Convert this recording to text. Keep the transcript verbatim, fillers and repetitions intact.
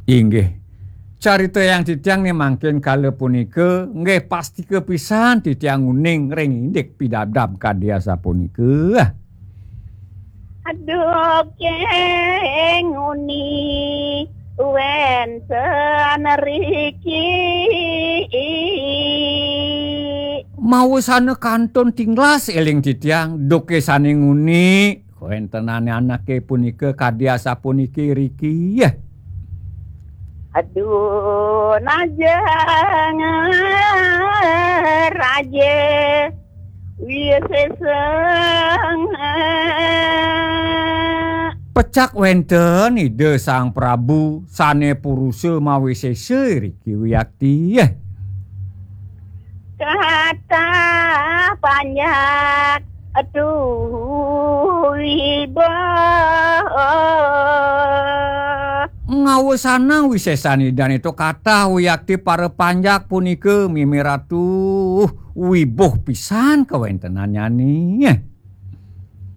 Inggih. Carita yang titiang nih mangkin kala punika, nggih pastika pisan titiang uning ring indik pidabdab kadi asapunika. Aduh, keng uni wenten riki. Mawasana kantun tinglas eling titiang, duke sane nguni, kawentenane anake punika kadi asapuniki riki. Aduh, najeng raja wiseseng. Pecak wenten Ida Sang Prabu sane purusa mawisesa riki wiakti. Kata panjak, aduh, wiboh. Ngawasanang wisesan Idane to kata wiakti para panjak punika, mimi ratu, wiboh pisan kawentenannyane.